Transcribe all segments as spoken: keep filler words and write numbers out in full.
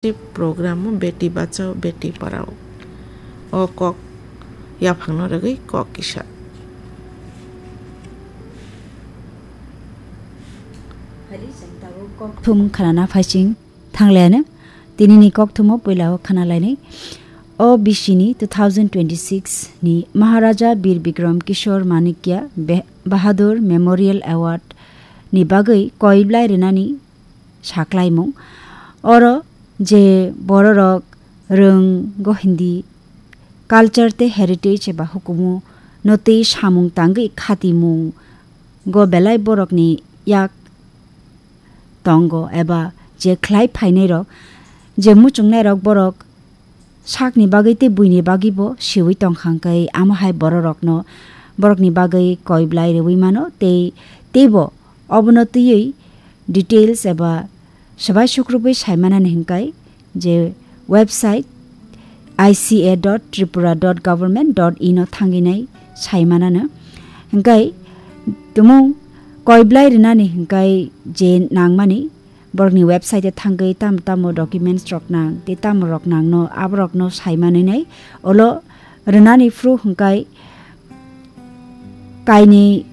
Program o Beti Bachao Beti Padhao o kok yaphangno rwgwi kok kisa. Thum khanana phaising thanglaiano tinini kokthumo puilao khanalainai. O bisini two thousand twenty-six ni Maharaja Bir Bikram Kishore Manikya Be-, Bahadur Memorial Award ni bagwi koiblai rwnani saklaimung. Oro je bororok rwng go Hindi culture tei heritage eba hukumu no tei samung tangwi khatimung go belai borokni yak tongo eba je khlai phainairok, je muchungnairok borok sakni bagwi tei buini bagwibo siwi tongkha hwnkhe amo hai bororokno, borokni bagwi koiblai rwui mano tei teibo obono twiwi details eba swbai sukrubwi saimanani hwnkhe je website I C A dot tripura dot government dot in o thangwi nai saimanano. Hwnkhe tumung koiblai rwnani hwnkhe je nangmani borokni website o thangwi tamo tamo documents rok nang tei tamo rok nangno aborokno saimanwi nai. Olo rwnani phuru hwnkhe kainwi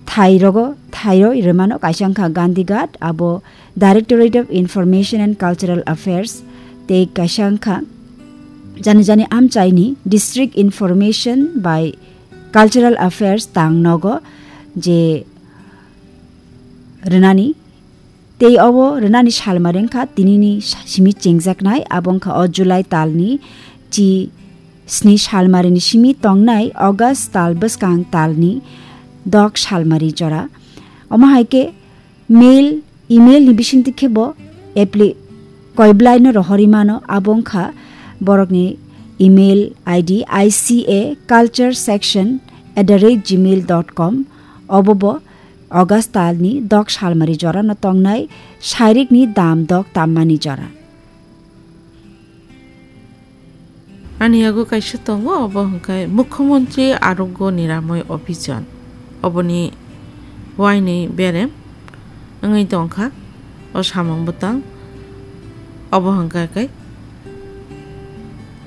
thai rogo, thairoi rwmano kaisa wngkha Gandhi Ghat, abo Directorate of Information and Cultural Affairs, tei kaisa wngkha jani jani amchaini District Information by Cultural Affairs tang nogo je rwnani. Tei obo rwnani salmari wngkha tinini sa-, simi chengjaknai, abo wngkha o July talni chi sni salmarini simi tongnai August tal bwskang talni dok salmari jora. Omo hai khe mail, email ni bisingtwi khe bo appli-, koiblai no rohorwi mano, abo wngkha borokni email I D I C A culture section at the rate gmail dot com. Obo bo August talni dok salmari jorano tongnai sairikni dam dok tammani jora. Ani yago kaisa tongo, obo hwnkhe Mukhyamantri Arogya Niramay Abhiyan. Oboni waini berem wngwi tongkha o samung bwtang. Obo hwnkhe khe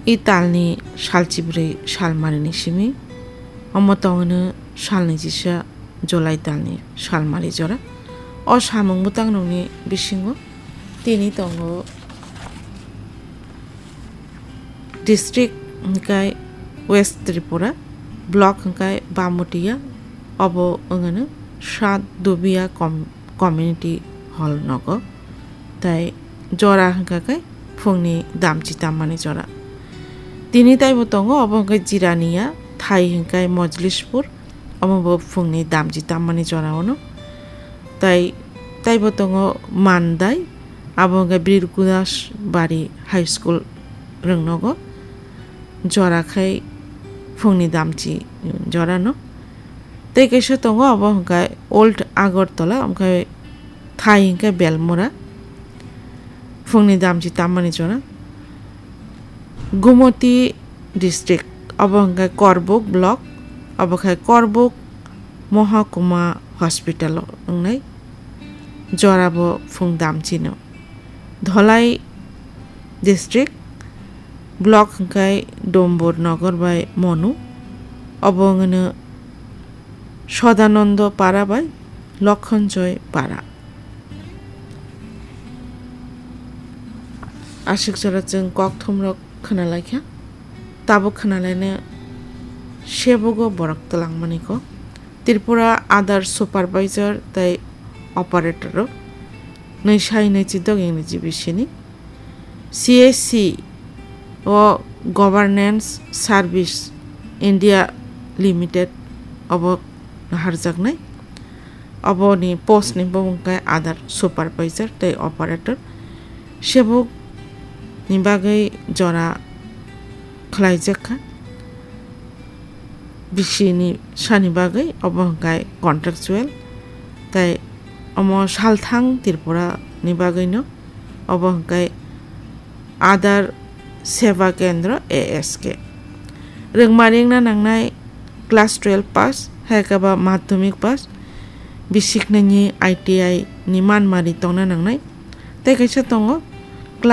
i talni salchibrwi salmarini simi, omo tongwino salni jisa July talni salmari jora. O samung bwtangrokni bisingo tini tongo district hwnkhe West Tripura, block hwnkhe Bamutia, obo wngano South Dubia com-, community hall nogo, tei jora hwnkha khe phungni damchi tammani jora. Tini taibo tongo, obo hwnkhe Jirania, thai hwnkhe Mojlispur, omo bo phungni damchi tammani jora ono. Tai, taibo tongo Mandai, abo hwnkhe Bir Gudas Bari High School rwngnogo, jora khai phungni damchi jorano. Tei kaisa tongo, abo hwnkhe Old Agartala, omo khai thai hwnkhe Belmura, phungni damchi tammani jora. Gumoti district, obo hwnkhe Korbuk block, obo khai Korbuk Mohakuma hospital o wngnai, jorabo phung damchino. Dholai district, block hwnkhe Dombur Nogor bai Monu, obo wngno Sodanando Para bai Lokhonjoy Para. Aswk jora chwng kokthumrok khwnalaikha, tabuk khwnalaino sebogo borok twlangmani kok. Tripura Aadhaar Supervisor tei Operator rok nwi sai nwi chidok English bisini C S C o Governance Service India Limited obo naharjaknai. Oboni post ni bumung khe Aadhaar Supervisor tei Operator. Sebuk ni bagwi jora khlaijak kha. Bisi ni sani bagwi obo hwnkhe contractual, tei omo salthang Tripura ni bagwi no obo hwnkhe Aadhaar Seva Kendra A S K. Rwngmari wngna nangnai class twelve pass, hai khe ba madhyamik pass, bisiknwini I T I ni manmari tongna nangnai. Tei kaisa tongo